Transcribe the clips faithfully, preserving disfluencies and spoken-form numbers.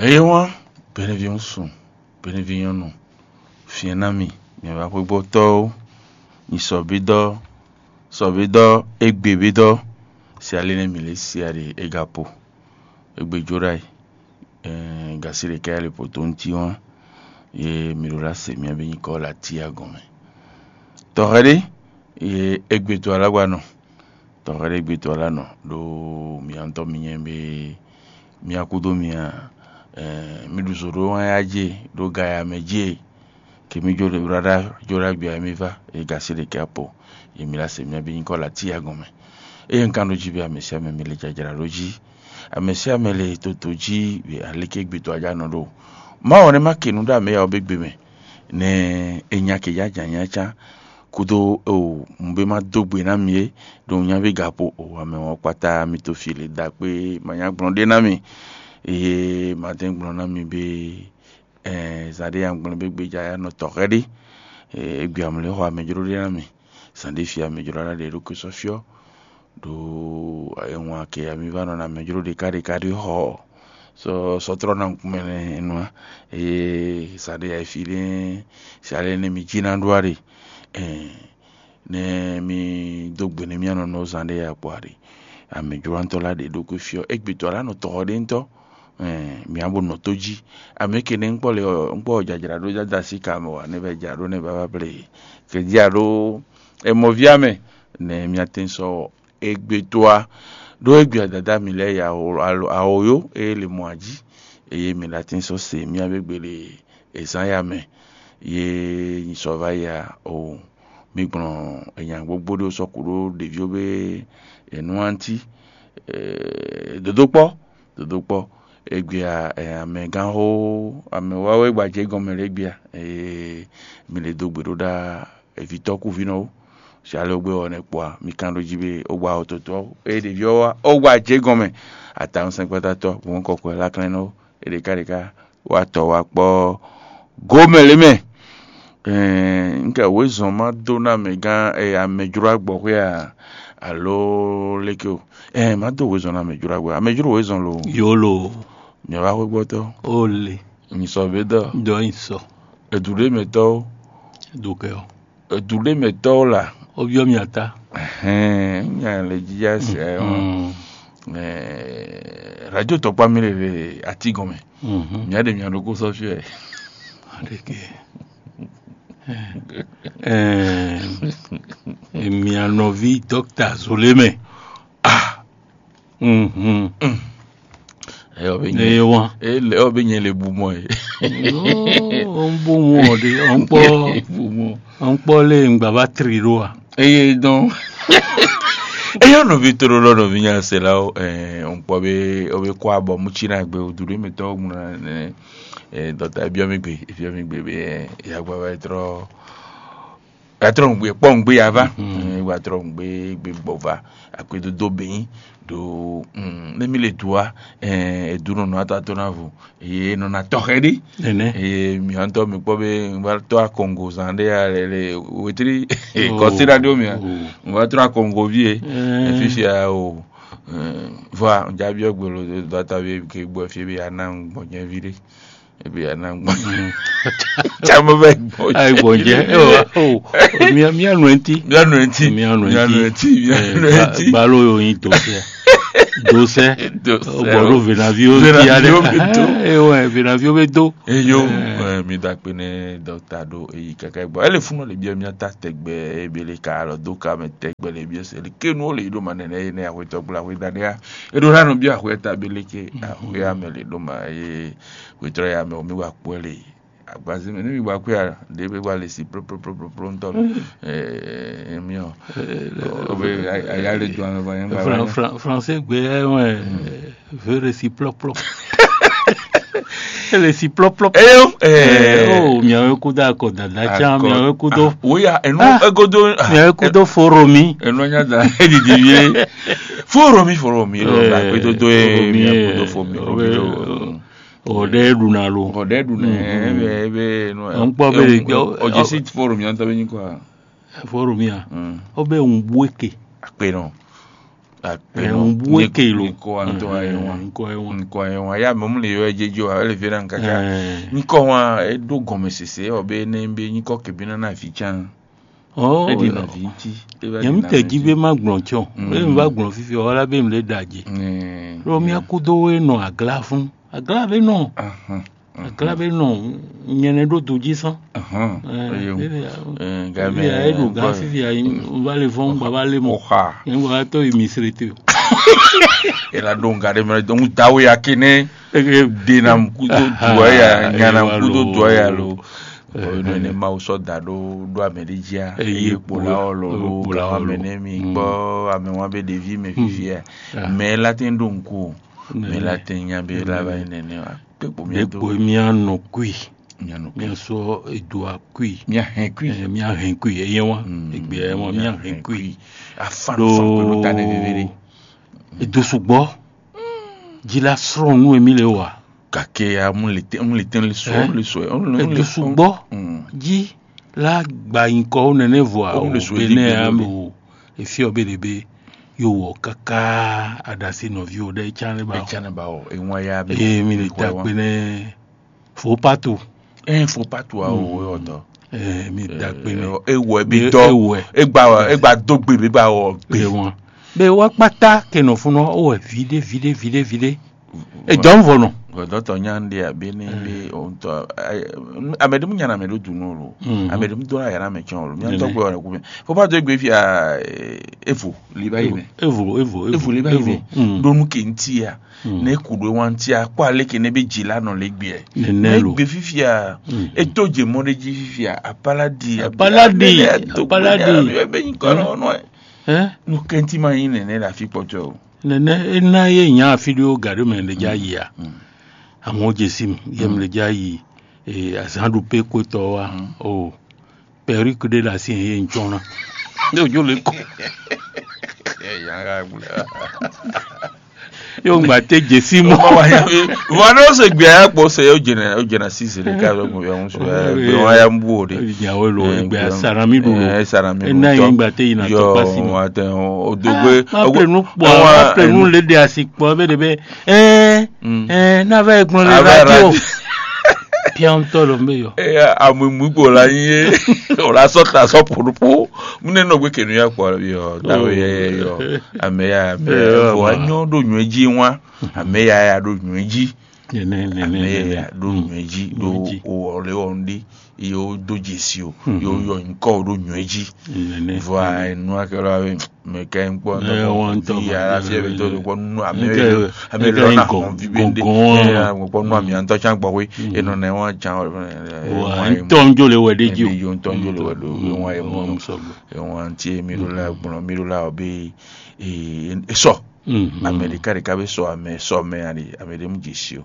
Eye wán, bɛnɛví ŋu sun, bɛnɛví nyɔ́nu, fiɛn ná mi, mi wá xwégbɔ́tɔ́ ó, nyi sɔbídɔ́, sɔbídɔ́, égbé bídɔ́, si ali nɛ́ mǐ lě si ali é ga po, égbé jó ɖ'ayǐ, gǎsi ɖě ká yi le pǒtónútí wán, ye mi ɖo lá se mì abí nyí kɔ́ la tíyá gɔn mɛ. Tɔxɛ ɖé, ye égbé to alágbanɔ, tɔxɛ ɖé gbé to alá nɔ ɖó mǐ ntɔ́ mi nyɛ bé mì akúdó mì a mì ɖu zǒ ɖó wán yá jé ɖó gaya mɛ jé kèmí jó ɖo ɖá jó ɖá gbé mì vá e gǎsi ɖe kɛ po ye mǐ la se mì abí nyí kɔ́ la tíyá gɔn mɛ. Eye un kan ɖó jí bé amɛ síá mɛ mi le jajra ɖó jí amɛ síá mɛ le toto jí aléké gbé to ajá nɔ ɖó má wɔ̌ nɛ́ má ke nǔ ɖó amɛ ya ɔ́ bé gbe mɛ nɛ è nya kɛ yá jǎ nyá cá kúdó o un bé má dó gbe ná mi é ɖo un nya bé ga po o amɛ wɔn kpata mi to fi le da kpé ma nya gblɔ́n ɖé ná mi eye ma dɛn gblɔ́n ná mi bé zan ɖé ya gblɔ́n bé gbéjà ya nɔ tɔxɛ ɖé égbé amlɛ xɔ amɛ jló ɖé ná mi zan ɖé fi amɛ jló ná ɖe ɖó kó sɔ́ fyɔ́ ɖo ewɔn akɛ ya mi va nɔ na amɛ jló ɖeka ɖeka ɖé xɔ sɔ sɔtrɔ na ŋkumɛ nɛ enua eye zan ɖé ya fi ɖé zan ɖé nɛ mi jí ná ɖó aɖe nɛ mi dó gbe nɛ mía nɔ nɔ zan ɖé ya kpɔ aɖe amɛ jló ntɔ la ɖe ɖokui fyɔ égbé tɔ la nɔ tɔxɔ ɖé ntɔ mía bo nɔ tó jí amɛ ke nɛ ŋkpɔ le ŋkpɔ jajra ɖó dada si ka mɛ wa ne bɛ jra ɖó ne baba ble ke jra ɖó emɔvia mɛ nɛ mía tɛn sɔ égbé toa ɖó égbé adada mi lɛ ya awo yo eye le mɔ ají eye mi la tɛn sɔ se mía be gbele ezan ya mɛ ye nyi sɔ va ya o mi gblɔn enya gbogbo ɖo sɔku ɖo ɖeviwo be enu anti dodo kpɔ dodo kpɔ egbea amɛgán xó amɛwáwé gbajɛ gɔmɛ lɛ gbea mi le do gbe ɖó ɖá evitɔ kúvinɔ wo si ale wogbe wɔ ne kpɔa mi kan ɖo jí be wogba wɔ totɔ eye ɖevi ɔ́ wá wogba jɛ gɔmɛ atawun sɛnkpɔtatɔ gbɔn kɔkɔɛ laklɛnɔ eɖeka ɖeka wa tɔ wa kpɔ gomɛ lé mɛ ɛɛ nke wezɔn ma do na amɛgán ɛɛ amɛjlo agbɔxwé a alo leke o ɛɛ ma do wezɔn na amɛjlo agbɔ amɛjlo wezɔn lo yolo mi wa xwégbɔtɔ ole mi sɔ bé dɔ dɔ yin sɔ edu ɖé mɛ tɔwo dukɛ o edu ɖé mɛ tɔwo la o biɔ mi ata ɛhɛn nya le jija sɛ ɛɛ radio tɔkpa mi le le ati gɔmɛ mia ɖe mia ɖo kó sɔ fiɛ adeke ɛɛ mia nɔvi dɔkta zolé mɛ ah mhm ɛyɔ bɛ ne nyɛ ye wan ɛyɔ bɛ nyɛ le bu mɔ ye o n bó wọn de o n kpɔ bu mɔ o n kpɔ lé ŋgbà bá tri ɖó wa eye dɔn eye nɔvi toro lɔ nɔvi nya se la o ɛɛ n kpɔ be o be kɔ abɔ mu tsi na gbe o du ɖe mi tɔ ŋu na ne ɛɛ dɔta ebiɔ mi gbe ebiɔ mi gbe be ɛɛ yagba va yi trɔ ya trɔ ŋgbe kpɔ ŋgbe ya va ɛɛ wa trɔ ŋgbe gbe gbɔ va akpedodo bɛyin do ne mi le du wa ɛɛ edu nɔnɔ ato ato na vo eye nɔna tɔxɛ ɖi nene eye miantɔ mi kpɔ be n va tɔ akɔngo zan ɖe ya le le wetri kɔsi radio mia n va trɔ akɔngo vie efifia o vɔa n jabi ɔgbe lo dɔta bi ke gbɔ fie be ya na gbɔnyɛ vi ɖe ebe ya na gbɔnyɛ tsa mo bɛ gbɔnyɛ ayi gbɔnjɛ ɛ wa o mia mia nu eti mianu eti Mianu eti. mianu eti mianu eti gbalo yo yin dosɛ dosɛ Dosɛ. o bɔ ɖo venaviwo Venaviwo ti aɖe bi to. ewɔ venaviwo bɛ do eyo eh, mi da akpe ne dɔkta ɖo eyi kaka gbɔ ele funu le biɛ mia ta tɛgbɛ ebe le ka alɔ do ka mɛ tɛgbɛ le biɛ se le kenu le yi ɖo ma nɛnɛ ye ne axɔetɔ gbla axɔe da ɖe ya eɖo la nɔ bi axɔe ta be le ke axɔe ame le ɖo ma ye xɔetɔ ya me o mi wa kpɔ le agbazi me ne mi wa kpɔ ya ɖe be wa le si ploploploplo ŋutɔ eh miɔ o be aya le do ame va yɛn gba Fran- wa Fran- français gbɛ ɛ wɛ vere si plɔplɔ ele si plɔplɔ eyo eh o miawe kudo akɔ dada can Akɔ- miawe kudo ah, woya enu Ah. egodo ah, miawe kudo foromi enu nya da edidi vie foro mi foro mi lo Eh, na pe to do e foro mi, mi eh, ko do fo mi o obe- bi lo ɔdɛ ɖuna lo o de du ne ebe ebe no Ɔ, n kpɔ be le gbɛ, o- o je si foro mi anta be ni kwa foromi a mm ɔbɛ ŋu bueke akpe no Akpɛnɔ. Ɛ, un bú é ke lo. Nkɔ antɔ ayé wan. Nkɔ ayé wan. Nkɔ ayé wan. Ya mɔmu le yɔ jejo a ele vena nkaka. Ɛ. Nkɔ wan e ɖó gɔmɛ sese ɔ be ne be nyikɔ kebina na vi can. Ɔ. E di na vi ŋti. Nyɛ mi tɛ jí be ma gblɔn tsɔ. Mm. Be mi va gblɔn fifi ɔ la be mi le da je. Mm. Lo mi akudo we nɔ agla fún. Agla be nɔ. Ahun. Akla bɛ nɔ nyɛnɛ ɖó do jí sán. Ahɔn. Ɛ, Eye ŋu. Eye ŋu. Ɛ, Ebi a eɖo gán fifi a yi va le vɔn gba va le mɔ. Oxa. Yɛn gba tɔ yi mi sere te o. Ela ɖo ŋga ɖe mɛ dɔn dawe ya kene. Eke. Denam kudo duɔ ya nyanam kudo duɔ ya lo. Oyo ne ne mawu sɔ da ɖo ɖo amɛ ɖe jí a. Eye kpola ɔ lo ɖo kpola ɔ lo amɛ ne mi gbɔ amɛ wan bɛ ɖevi mɛ fifi a. Mɛ la tɛ ɖo ŋku o. Mɛ la tɛ nya bɛ la va yi nɛnɛ wa. Ɖěkpo mía nɔ kui. Mía nɔ kui. Mía sɔ edo akui. Mía hɛn kui. Ɛ, mía hɛn kui. Eye wa. Egbe ɛ wa mía hɛn kui. Afa ɖo fa kpe ɖo ta ne vevere. Edo sugbɔ. Ji la srɔn nu emi le wa. Gake ya mu le tɛ mu le tɛ le sɔ le sɔ. Edo sugbɔ. Ji la gba nyikɔ wo nɛnɛ vɔ a o bene a o efi ɔ bene be yo wɔ kaka adasi nɔvi o ɖe can ne ba o. Etsane ba o eŋua ya mi. Ee mi le ta kpe nɛ. Fo pato. Ɛn fo pato a o yɔ dɔ. Ɛɛ mi da kpe nɛ. Ewɔ ebi dɔ. Ewɔ. Egba egba do gbe bi ba wɔ gbe. Ewɔ. Be wa kpata kɛ nɔ fun nɔ o wɛ vi ɖe vi ɖe vi ɖe vi ɖe. Edɔn vɔ nɔ. Dɔtɔ nya ɖe abe ne be o ŋutɔ. Ame ɖe mu nya na ame ɖo dunu o lo. Ame ɖe mu do na yàrá mɛ tiɲɔ o lo mi ŋutɔ gbɛ wà lẹ kú mɛ. Fo pato egbe fi a evo li ba yi mɛ. Evo evo evo li ba yi mɛ. Ɖo nu ke ŋuti ya. Ne ku ɖo wan ti akpɔ ale ke ne be dzi la nɔ le gbe. Nɛnɛ lo. Gbe fifia. E to dze mɔ ɖe dzi fifia apala di. Apala di. Apala di. Be nyi kɔ nɔ nɔ. Ɛ. Nu kɛnti ma nyi nɛnɛ la fi kpɔtɔ o. Nɛnɛ e na ye nya afi ɖo ga ɖo mɛ ɖe dza yi a. Amewo dze si mu ye mɛ ɖe dza yi. Azan ɖu pe ko tɔ wa o. Perruque ɖé le asi ye ŋtsɔ́ ná. Ɖé wòjó le kɔ. Yóò gba tɛ dze sí mɔ. Vɔ ne o se gbɛ ya kpɔ se o jɛnɛ o jɛnɛ si se ɖeka bɛ gbɛ ya ŋu su gbɛ wa ya bu o de. Ìyàwó lo gbɛ ya sara mi ɖu lo. Ena yi gba tɛ yina tɔ pasi mɔ. O do gbe. Ma pè nu kpɔ ma pè nu le de asi kpɔ bɛ de bɛ ɛɛ ɛɛ n'a va yi gblɔ le radio. Piantɔ lo mɛ yɔ. Eya amumugbo la nyi ye o la sɔ ta sɔ poɖokpo mu ne nɔ gbe kenu ya kpɔ yɔ dawe yɛ yɔ ame ya ame ya fo anyɔ ɖo nyuɛ dzi wa ame ya ya ɖo nyuɛ dzi ame ya ya ɖo nyuɛ dzi ɖo o ɔlɛ ɔn ɖi yo do dze si o yo yɔ nyikɔ o ɖo nyuɛ dzi vɔ enu akɛlɛ awe mɛ kɛ ŋkpɔ ntɔ vi ya la fi ɛbɛ to kpɔ nu ame ame lɔ na hɔn vi bɛ nde kpɔ nu ame antɔ can gbɔ koe enɔ nɛ wa can wa ntɔ njo le wɛ de ji o yo ntɔ njo le wɛ do yo wa ye mɔ yo wa ntí mi ɖo la gblɔ mi ɖo la ɔbɛ esɔ ame ɖeka ɖeka bɛ sɔ ame sɔ mɛ ali ame ɖe mu dze si o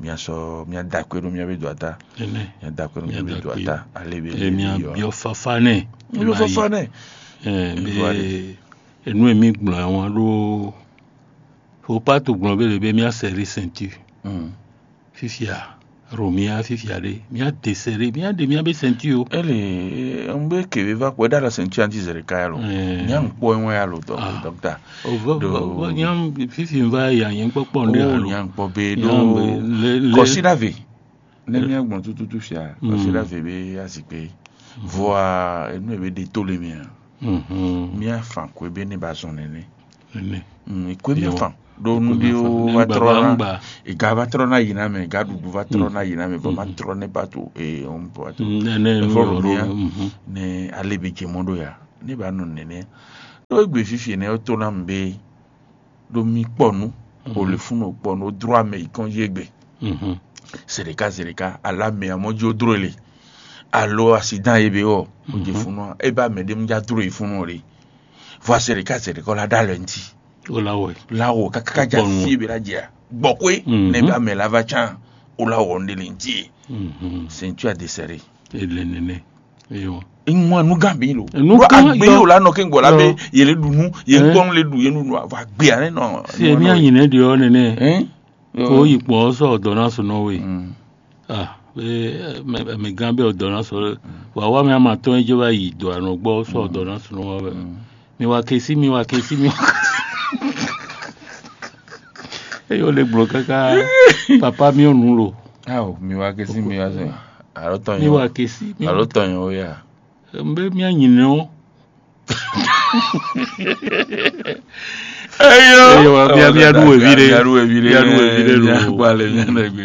mia sɔ mia da akpe ɖo mia bɛ do ata mia da akpe ɖo mia bɛ do ata ale bɛ mia biɔ fafa nɛ mia biɔ fafa nɛ. Enu e mí gblɔ ɛ wán ɖó fopátu gblɔ bé le bé mía sɛrí ceinture fifia Romia fifia ɖé mía de sɛrí mía ɖe mía bé ceinture o. Ele n bɛ kebe va kpɔ ɖa la ceinture anti zɛrɛ ka yalo nya n kpɔ ɛ wɛn yalo dɔkta. Fifi n va yi anyɛ kpɔkpɔ n ɖe alo nya n kpɔ be ɖo kɔsi ɖa ve. Ne mía gbɔn tututu fia kɔsi ɖa ve be azikpe. Vɔa enu ebe ɖe to le mia. Mía fan ko ebe ne ba zɔn nɛnɛ. Ko ebe fan ɖo nu ɖe wo va trɔ na ega va trɔ na yi na mɛ ega ɖuɖu va trɔ na yi na mɛ vɔ ma trɔ ne ba to ee ɔn ba to. Nɛnɛ nu Evɔ yɔ ɖo mia ne ale be jɛ mɔ ɖo ya ne ba nɔ nɛnɛ. Ɖo egbe fifi ne wo to na mu be ɖo mi kpɔ nu o le funu kpɔ nu o dro ame yi kɔn yi egbe. Zereka zereka ala mɛ amɔ dzi o dro le alo asidan ye be wɔ o dze funu e ba mɛ ɖe mu dza dro yi funu le vɔ zereka zereka o la ɖa lɛ ŋti. O la wɔ la wɔ kaka dza fi be la dze gbɔkwe ne ba mɛ la va can o la wɔ ne le ŋti ye. Ceinture a desserré. Ele nene. Eywa. Ŋmɔ nu gã bi lo. Nu gã agbe yo la nɔ ke gbɔ la be yele ɖu nu ye gbɔn le ɖu ye nu nu va gbe ale nɔ. Si emi anyi ne ɖi ɔ nene. Ko yi kpɔ sɔ dɔ na sunɔ we. Ah, be mɛ gã be dɔ na sɔ wa wa mi ama tɔn je va yi dɔ anɔ gbɔ sɔ dɔ na sunɔ wa. Mi wa kesi mi wa kesi mi wa kesi. Eye wole gblɔ káká, papa miɔ nu lo. Ao, mi wa ke si mi wa zɔn. Alo tɔn Mi yɔ. Wa kesi mi. Alo tɔn yɔ ya. Mbe mia nyi nɔ. Eyo. Eyo, mia- mia ɖu evi ɖe. Mia ɖu evi ɖe. Mia ɖu evi ɖe lo. Mia kpale mia ɖe gbe.